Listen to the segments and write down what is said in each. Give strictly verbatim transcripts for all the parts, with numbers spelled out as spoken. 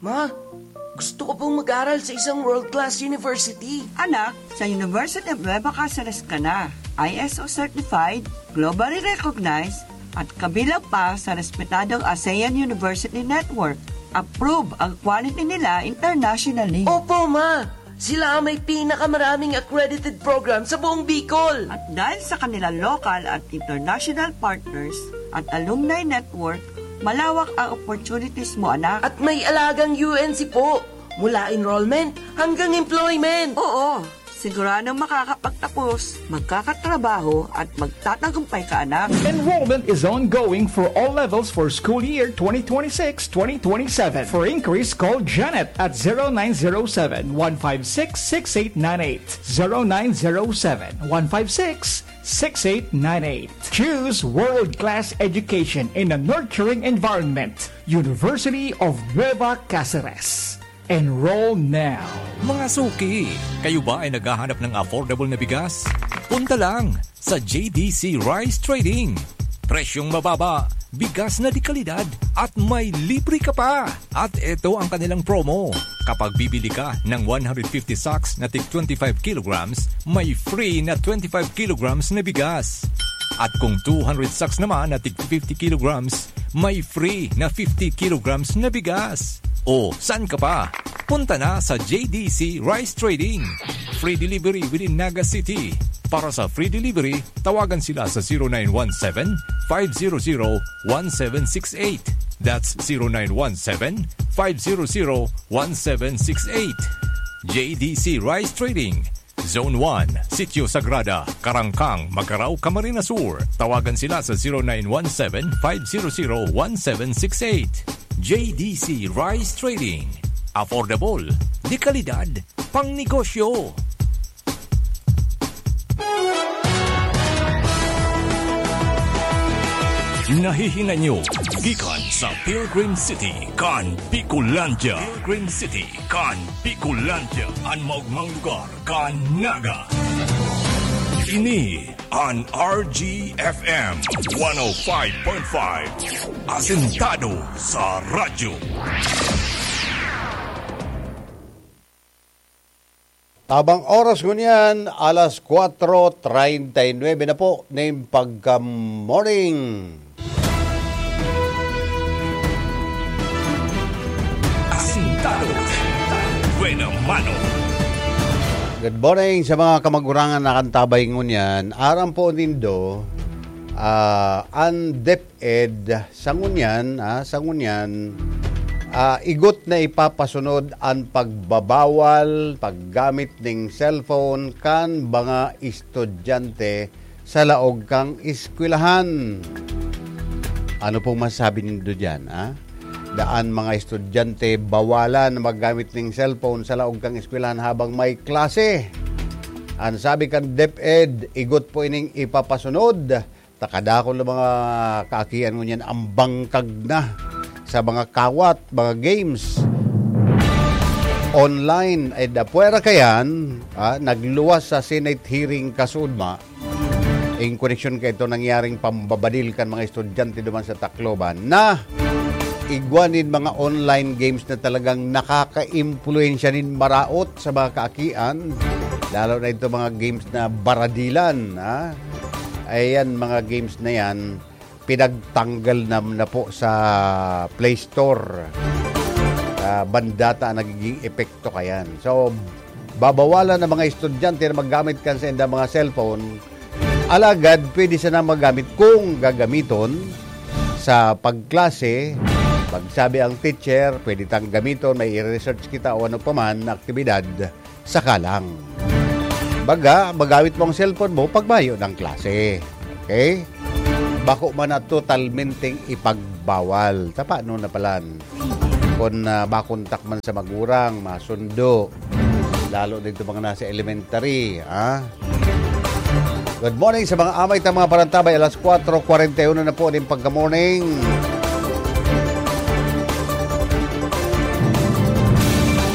Ma, gusto ko pong mag-aral sa isang world-class university. Anak, sa University of Nueva Caceres ka na. I S O certified, globally recognized, at kabilang pa sa respetadong ASEAN University Network. Approve ang quality nila internationally. Opo, ma! Sila ang may pinakamaraming accredited program sa buong Bicol. At dahil sa kanilang local at international partners at alumni network, malawak ang opportunities mo, anak. At may alagang U N C po, mula enrollment hanggang employment. Oo, siguradong makakapagtapos, magkakatrabaho at magtatagumpay ka, anak. Enrollment is ongoing for all levels for school year twenty twenty-six twenty twenty-seven. For inquiries, call Janet at zero nine zero seven, one five six, six eight nine eight. Zero nine zero seven, one five six, six eight nine eight. Choose world-class education in a nurturing environment. University of Nueva Caceres. Enroll now. Mga suki, kayo ba ay naghahanap ng affordable na bigas? Punta lang sa J D C Rice Trading. Presyong mababa, bigas na de kalidad, at may libre ka pa. At eto ang kanilang promo. Kapag bibili ka ng one hundred fifty sacks na tig twenty-five kilograms, may free na twenty-five kilograms na bigas. At kung two hundred sacks naman na tig fifty kilograms, may free na fifty kilograms na bigas. O, saan ka pa? Punta na sa J D C Rice Trading. Free delivery within Naga City. Para sa free delivery, tawagan sila sa zero nine one seven, five zero zero, one seven six eight. That's zero nine one seven, five zero zero, one seven six eight. J D C Rice Trading, Zone one, Sitio Sagrada, Carangcang, Magarao, Camarines Sur. Tawagan sila sa zero nine one seven, five zero zero, one seven six eight. J D C Rice Trading. Affordable, de kalidad, pang negosyo. Nahihinay nyo gikan sa Pilgrim City kan Bicolandia. Pilgrim City kan Bicolandia, an maogmang lugar kan Naga. Ini an R G F M one oh five point five, asentado sa radyo. Tabang oras ngunyan, alas kwatro treinta y nuebe na po nin pagka-morning. Asintado. Buena mano. Good morning sa mga kamagurangan na kantabay ngunyan. Aram po nindo, ah, an DepEd sa ngunyan, ah, sa ngunyan, ah, igot na ipapasunod an pagbabawal paggamit ning cellphone kan mga estudyante sa laog kan eskwelahan. Ano pong masasabi nindo diyan, ah? Daan mga estudyante bawalan na maggamit ning cellphone sa laog kan eskwelahan habang may klase. An sabi kan DepEd, igot po ining ipapasunod. Ta kadakul na mga kaakian ngunyan an bangkag na sa mga kawat, mga games online. Ay, da, pwera kayan, ah, nagluwas sa Senate hearing kasuodma, in koneksyon kaito nangyaring pambabadil kan mga estudyante duman sa Tacloban na igwa nin mga online games na talagang nakakaimpluwensya nin maraot sa mga kaakian, lalo na ito mga games na baradilan, ha? Ayan, mga games na yan, pinagtanggal na, na po sa Play Store. Ah, bandata ang nagiging epekto kayan. So, babawalan ang mga estudyante na maggamit kan saindang mga cellphone. Alagad, pwede sana magamit kung gagamiton sa pagklase. Pagsabi ang teacher, pwede tang gamiton, may i-research kita o ano pa man na aktibidad, saka lang. Baga, magamit mo ang cellphone mo pag mayo ng klase. Okay? Bako man na totalmenteng ipagbawal. Ta paano na palan? Kung, ah, makontak man sa magurang, masundo. Lalo dito mga nasa elementary, ah. Good morning sa mga amay ta mga parantabay. Alas kwatro kwarenta y uno na po ning pagka-morning.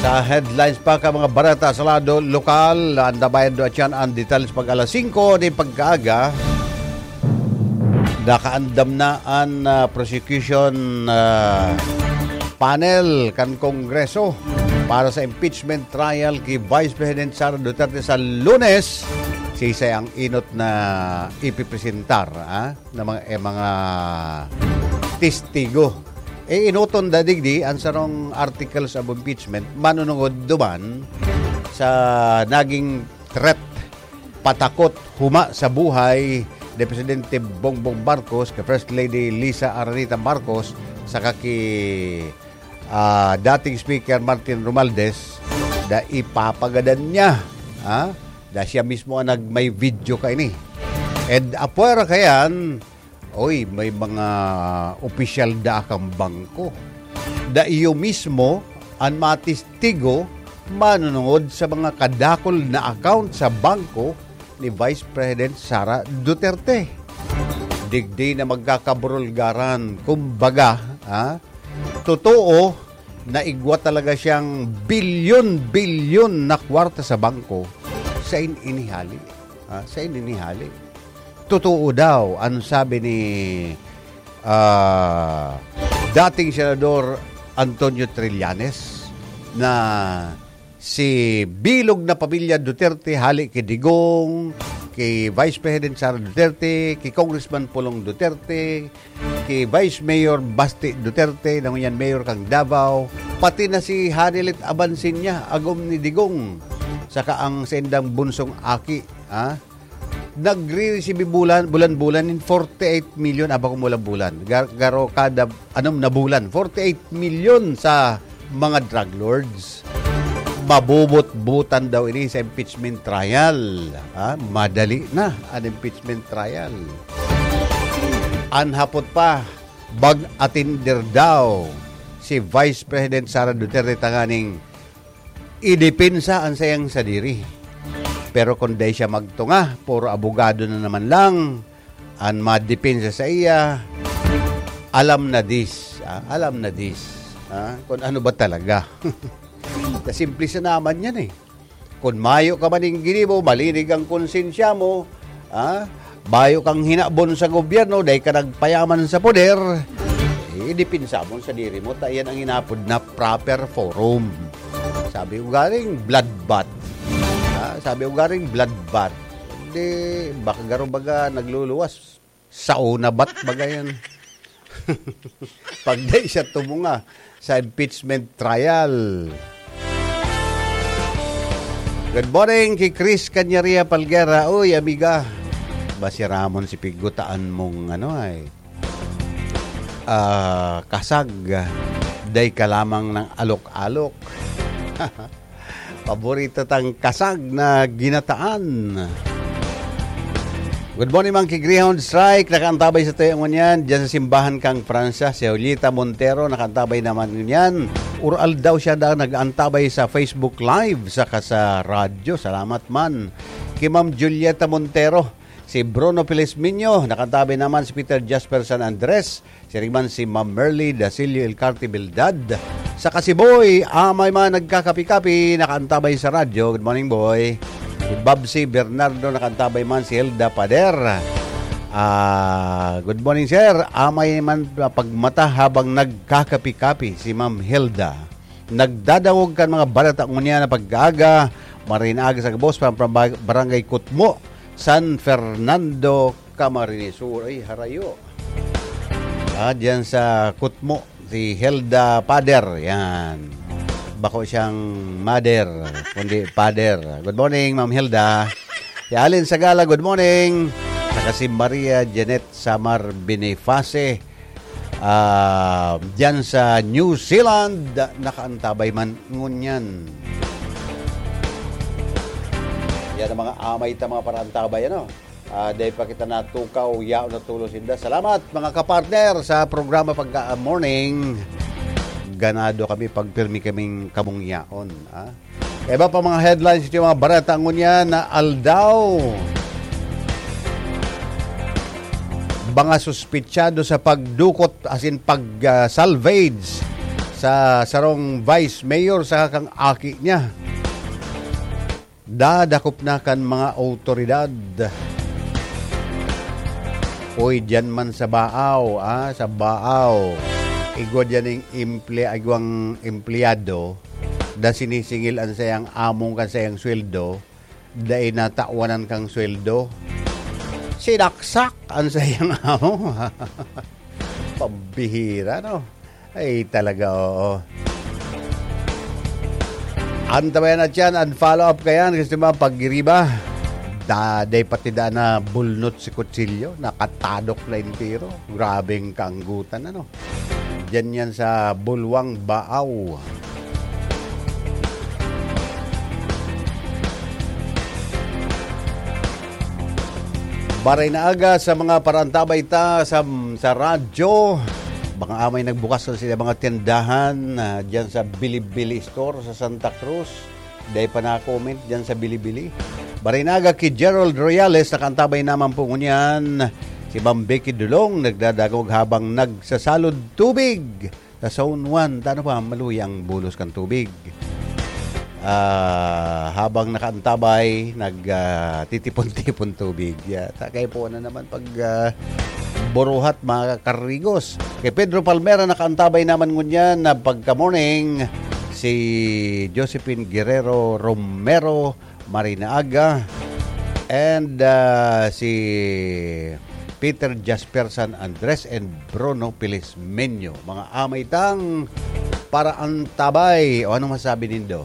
Sa headlines pa ka mga bareta sa lado lokal, andabayan do atyan ang detalye pag alas singko ning pagkaaga. Nakaandam na an, ah, prosecution, ah, panel kan Kongreso para sa impeachment trial ki Vice President Sara Duterte sa Lunes, siisay ang enot na ipipresentar, ah, na mga, eh, mga testigo. Eh, enoton da digdi an sarong articles of impeachment manunungod duman sa naging threat, patakot huma sa buhay ni Presidente Bongbong Marcos, kay First Lady Liza Araneta Marcos, saka ki, ah, dating Speaker Martin Romualdez, da ipapagadan niya, ah, da siya mismo ang nag-, may video kaini. And apwera kayan, oy, may mga opisyal da kang bangko. Da iyo mismo an matistigo manunungod sa mga kadakul na account sa bangko ni Vice President Sara Duterte. Digdi na magkakaburulgaran, kumbaga, ha? Totoo na igwa talaga siyang bilyon-bilyon na kwarta sa bangko. Sain ini hali? Ha? Sain ini hali? Totoo daw, ang sabi ni, ah, dating Senador Antonio Trillanes, na si bilog na pamilya Duterte, hali ki Digong, ki Vice President Sara Duterte, ki Congressman Pulong Duterte, ki Vice Mayor Basti Duterte, na ngunyan mayor kan Davao, pati na si Hanelet Abansiña, agom ni Digong, saka ang saindang bunsong aki, ha? Nagre-receive bulan, bulan-bulan in forty-eight million, aba, kung bulan-bulan. Gar-, garo kada anom na bulan, forty-eight million sa mga drug lords. Mabubutbutan daw ini sa impeachment trial. Ha? Madali na an impeachment trial. An hapot pa, mag-atinder daw si Vice President Sara Duterte tanganing idepensa an saiyang sadiri. Pero kun dai siya magtunga, puro abogado na naman lang an madepensa sa iya. Alam na dis, ah, alam na dis, ah, kun ano ba talaga. Na simple sa naman yan eh. Kun mayo ka man ning ginibo, malinig ang konsensya mo, ah, bayo kang hinabon sa gobyerno, dai ka nagpayaman sa poder, eh, idepensa mo sadiri mo, ta iyan ang inapod na proper forum. Sabi ko garing bloodbath. Ah, sabi ko garing bloodbath. Hindi, baka garo baga nagluluwas. Sauna bat baga yan. Pag dai siya tumunga sa impeachment trial. Good morning ki Chris Canyaria Palguera. Uy, amiga. Ba si Ramon si pigutaan mong ano ay, ah, kasag. Dai ka lamang ng alok-alok. Paborito tang kasag na ginataan. Good morning, Monkey Greyhound Strike. Nakaantabay sa tayo ngunyan. Diyan sa simbahan kang Francia, si Julieta Montero, nakaantabay naman ngunyan. Ural daw siya na nag-aantabay sa Facebook Live, saka sa radyo. Salamat man. Kay Ma'am Julieta Montero, si Bruno Felizminio, nakaantabay naman si Peter Jasper San Andres, siring man si Ma'am Merly Dasilio Ilcarte Bildad. Saka si Boy, amay man nagkakapi-kapi, nakaantabay sa radyo. Good morning, Boy. Si Babsi Bernardo, nakaantabay man si Hilda Pader. Ah, good morning, sir. Amay man pagmata habang nagkakapi-kapi si Ma'am Hilda. Nagdadangog kan mga balita ngunyan na pag-aaga, maray na aga sa gabos, from, from Barangay Kutmo, San Fernando, Camarines Sur. Ay, harayo. Ah, diyan sa Kutmo, si Hilda Pader. Yan. Bako siyang mother, kundi father. Good morning, Ma'am Hilda. Si Allen Sagala, good morning. Saka si Maria Janet Samar Boniface, ah, diyan sa New Zealand, nakaantabay man ngunyan. Yan ang mga amay ta, mga paraantabay, ano? Ah, dahil pa kita natukaw, yaon na tulos inda. Salamat, mga kapartner, sa programa pagka, ah, morning. Ganado kami pag pirmi kaming kamong yaon, ah. Iba pa mga headlines ito, mga bareta ngunyan na aldaw. Mga suspitsado sa pagdukot, as in pag, ah, salvage sa sarong vice mayor sa kang aki niya. Dadakop na kan mga awtoridad. Uy, diyan man sa Baaw, ah, sa Baaw. Igwa diyan ning emple-, igwang empleyado na sinisingil an sayang among kan sayang sweldo, dai natawanan kang sweldo. Sinaksak an sayang amo. Pambihira, no? Ay, talaga, oo. Antabayan na tiyan, an follow-up kayan, kasi mga pagiriba, da-, day pati da na bulnot si kutsilyo, nakatadok na entero. Grabeng kaanggutan, ano? Diyan yan sa Bulwang Baaw. Baray na aga sa mga parantabay ta sa, sa radyo. Mga amay nagbukas na sila mga tindahan, ah, diyan sa Bilibili Store sa Santa Cruz. Dai pa na-comment diyan sa Bilibili. Baray na aga ki Gerald Royales, nakaantabay naman po ngunyan. Si Ma'am Becky Dulong nagdadagog habang nagsasalod tubig sa Zone one. Tano pa, maluya ang bulos kan tubig. Ah, habang nakaantabay, nag, ah, titipon-tipon tubig. Ya, ta-, kayo po na naman pag, ah, buruhat, mga karigos. Kay Pedro Palmera, nakaantabay naman ngunyan na pagka-morning, si Josephine Guerrero Romero, Marina Aga, and, ah, si Peter Jasper San Andres and Bruno Pilismeño. Mga amay tang paraantabay. O, anong masabi nindo?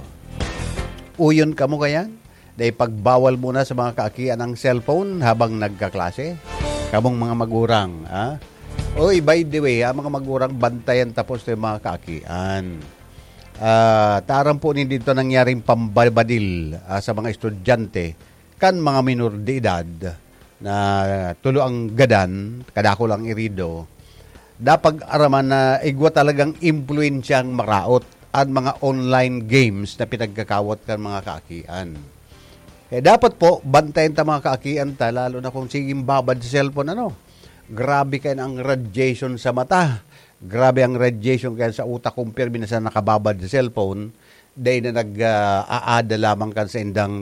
Uyon kamo kayan? Dai pagbawal muna sa mga kaakian ang cellphone habang nagkaklase? Kamong mga magurang, ha? Oy, by the way, ha, mga magurang, bantayan tapos to yung mga kaakian. Ah, taram po ni dito nangyaring pambabadil, ah, sa mga estudyante kan mga minor de edad na tulo ang gadan, kadakul ang irido. Dapat araman na igwa talagang impluwensyang maraot an mga online games na pinagkakawat kan mga kaakian. Eh, dapat po, bantayan ta mga kaakian ta, lalo na kung siging babad sa cellphone, ano? Grabe kayo ang radiation sa mata. Grabe ang radiation kaya sa utak kung pirmi na sa nakababad sa cellphone. Dahil na nag, ah, aada lamang kan sa indang,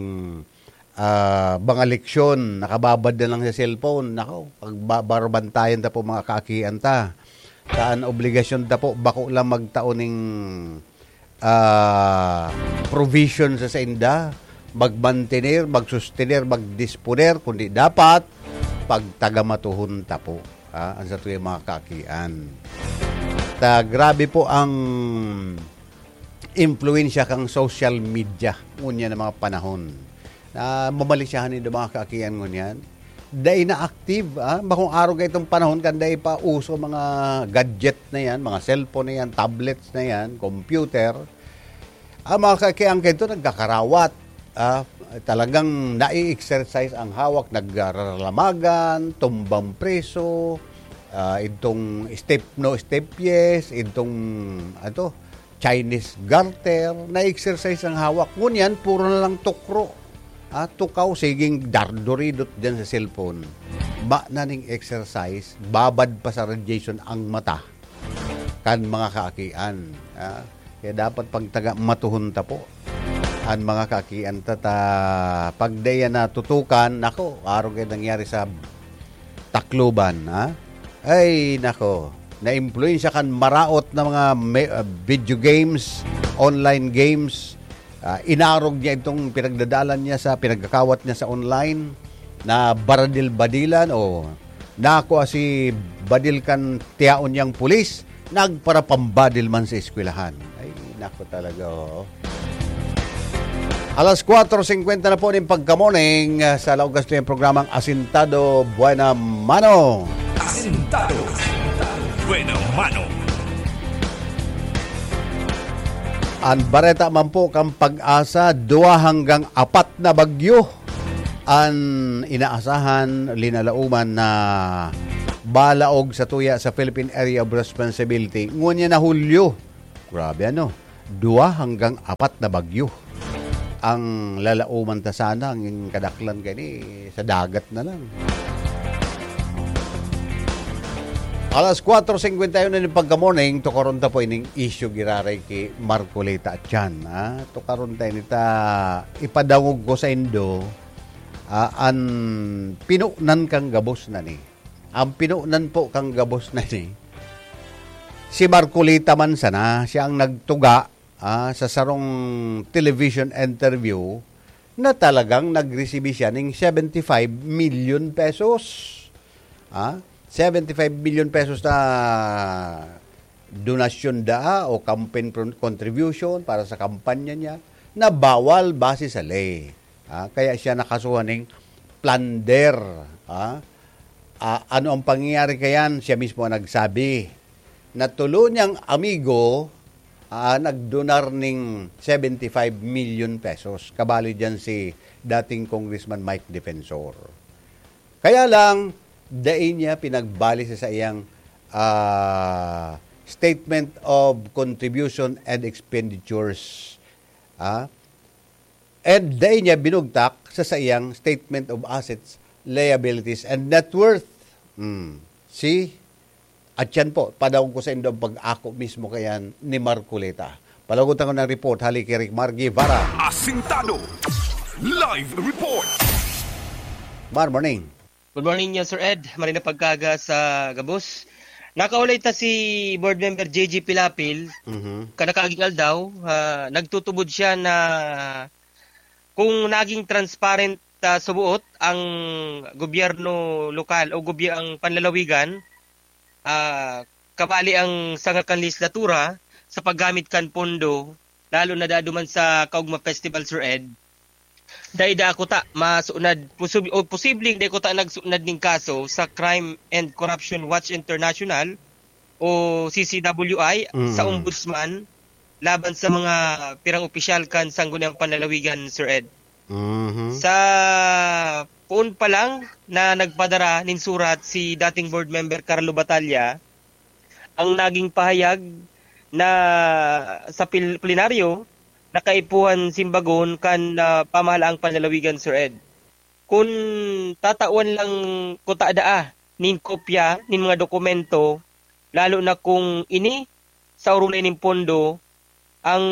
ah, mga leksyon, nakababad na lang sa cellphone. Nako, pagbabarbantayan ta po mga kaakian ta. Saan obligasyon ta po, bako lang magtao ning, ah, provision sa sainda, magmantener, magsustener, magdisponer, kundi dapat pagtagamatuhon ta po, ah, ang satuyang mga kaakian. Ta, grabe po ang impluwensya kang social media ngunyan na mga panahon. Na mamalisyahan nindo mga kaakian ngunyan. Dai na active, ah. Bakong araw kayo itong panahon kan dai pa uso mga gadget na yan, mga cellphone na yan, tablets na yan, computer. Ang mga kaakian kayo ito nagkakarawat. Ah, talagang nai-exercise ang hawak, nagraralamagan, tumbang preso, ah, itong step no, step yes, itong, ato, Chinese garter, na-exercise ang hawak. Ngunyan, puro na lang tukro. Ah, tukaw, siging darduridot dyan sa cellphone. Ba na ning exercise, babad pa sa radiation ang mata kan mga kaakian. Ah, kaya dapat pagtaga matuhon ta po. An mga kaakian ta, ta, pag daya na tutukan, nako, araw kayo nangyari sa Tacloban, ha? Ay, nako. Naimpluwensya kan maraot na mga me-, ah, video games, online games. Ah, inarog niya itong pinagdadalan niya sa, pinagkakawat niya sa online na baradil-badilan o nako si badil kan tiyaon niyang pulis, nagparapambadil man sa eskwelahan. Ay, nako talaga, oo. Alas kwatro singkwenta na po ning pagka-morning, ah, sa laog kasto yung programang Asintado Buena Mano. Asintado Buena Mano. An bareta man po kan PAGASA, duwa hanggang apat na bagyo an inaasahan, linalauman na balaog sa tuya sa Philippine Area of Responsibility. Ngunyan na Hulyo, grabe ano, duwa hanggang apat na bagyo ang lalauman ta sana, ang kadaklan kani sa dagat na lang. Alas kwatro singkwenta y uno na ning pagka-morning, tukaron ta po ining isyu giraray ki Marcoleta Chan, ha? Tukaron ta ini ta ipadangog ko sa indo, ah, an pinonan kan gabos na ni. Ang pinonan po kan gabos na ni, Si Marcoleta man sana, siya ang nagtuga, ah, sa sarong television interview na talagang nagresibi siya ning seventy-five million pesos. Ah, seventy-five million pesos na donasyon daa o campaign pro-, contribution para sa kampanya niya na bawal base sa ley. Ah, kaya siya nakasuhan ning plunder. Ah, ah, ano ang pangyayari kayan? Siya mismo ang nagsabi na tulo niyang amigo, ah, nagdonar ning seventy-five million pesos. Kabali diyan si dating Congressman Mike Defensor. Kaya lang, dai niya pinagbali sa saiyang, ah, Statement of Contribution and Expenditures. Ah, and dai niya binugtak sa saiyang Statement of Assets, Liabilities, and Net Worth. Hmm. See? At yan po, padawon ko sa indo ang pag-ako mismo kayan ni Marcoleta. Palagot ako ng report, hali kay Rick Mar Guevara. Asintado. Live report. Mar, morning. Good morning niya, Sir Ed. Marina pagkaga sa gabos. Nakaulay ta si Board Member J J Pilapil. Mhm. Kanakaaging aldaw, ah, nagtutubod siya na kung naging transparent, ah, subuot ang gobyerno lokal o gobye-, ang panlalawigan, ah, kabali ang sanga kan lehislatura sa paggamit kan pondo, lalo na dado man sa Kaugma Festival, Sir Ed, dai daa kuta masunad, posib-, o posibleng dai kuta nagsunad ning kaso sa Crime and Corruption Watch International o C C W I sa Mm. Ombudsman laban sa mga pirang opisyal kan Sangguniang Panlalawigan, Sir Ed. Mhm. Sa poon pa lang na nagpadara nin surat si dating board member Carlo Batalla, ang naging pahayag na sa pil-, plenaryo na kaipuhan simbagon kan, ah, pamahalaang panlalawigan, Sir Ed. Kun tatawan lang kuta daa nin kopya nin mga dokumento, lalo na kung ini sa urulay nin pondo, ang,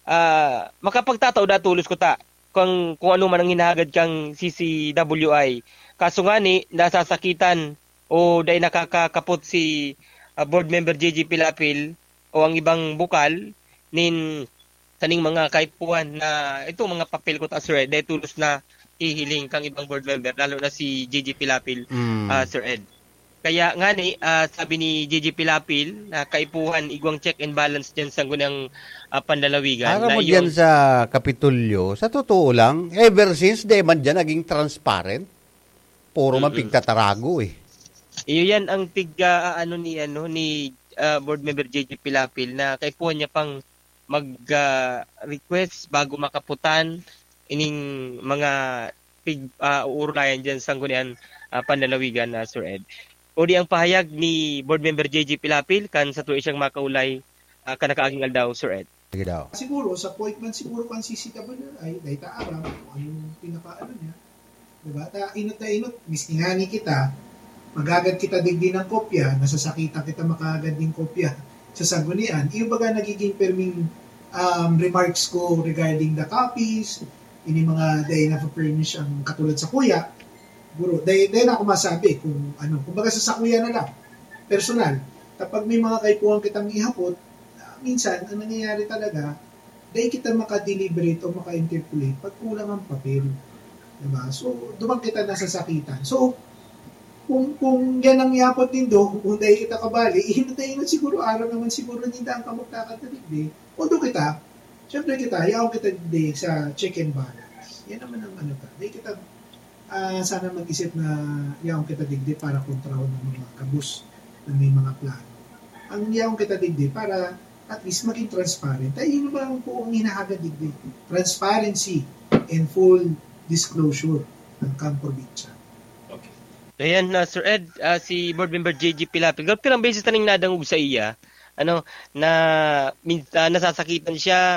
ah, makapagtatao da tolos kuta kung, kung ano man ang hinahagad kang C C W I. Kaso ngani, nasasakitan o dai nakakakapot si, ah, Board Member J J Pilapil o ang ibang bukal nin kaning mga kaipuhan na itong mga papel kuta, Sir Ed, dai tolos nahihiling kang ibang board member, lalo na si J J Pilapil, Mm. ah, Sir Ed. Kaya ngani, ah, sabi ni J J Pilapil na kaipuhan igwang check and balance diyan sa Sangguniang, ah, Panlalawigan Aram na mo diyan iyon sa Kapitolyo, sa totoo lang, ever since, di man diyan naging transparent. Puro man Mm-mm. pigtatarago eh. Iyo yan ang pig, ah, ano ni, ano, ni, ah, Board Member J J Pilapil na kaipuhan niya pang mag, ah, request bago makaputan ining mga pig-, ah, uurulayan diyan sa Sangguniang, ah, Panlalawigan, ah, Sir Ed. O di ang pahayag ni Board Member J J Pilapil kan sa tuwi siyang makaulay, ah, kanakaaging aldaw, Sir Ed. Sige daw. Siguro, sa point man siguro kan C C W I, dai ta aram kung ano yung pinakaano niya. Diba? Ta, inot na inot, miski ngani kita, magagad kita digdi ng kopya, nasasakitan kita makagad ng kopya sa Sanggunian. Yung baga nagiging perming, um, remarks ko regarding the copies, ini mga dai na furnish ang katulad sa kuya, guro, dai, dai na ako masabi kung ano, kumbaga sa sakuya na lang, personal. Kapag may mga kaipuhan kitang ihapot, ah, minsan, ang nangyayari talaga, dai kita maka-deliberate o maka-interpolate pag kulang ang papel. Diba? So, duman kita nasasakitan. So, kung, kung yan ang iapot nindo, kung dai kita kabali, inot na inot siguro, aram naman siguro ninda ang kamugtakan ta digdi. Although kita, syempre kita, yaon kita digdi sa check and balance. Yan naman ang ano ta. Dai kita, ah, sana mag-isip na yaon kita digdi para kontrahon ang mga kabus na may mga plano. Ang yaon kita digdi para at least maging transparent. Ay, yun ba ang buong hinahagad digdi? Transparency and full disclosure ng kang probinsya. Okay. Ayan, ah, Sir Ed, ah, si Board Member J J Pilapil. Pirang beses na ning nadangog sa iya, ano, na min-, ah, nasasakitan siya,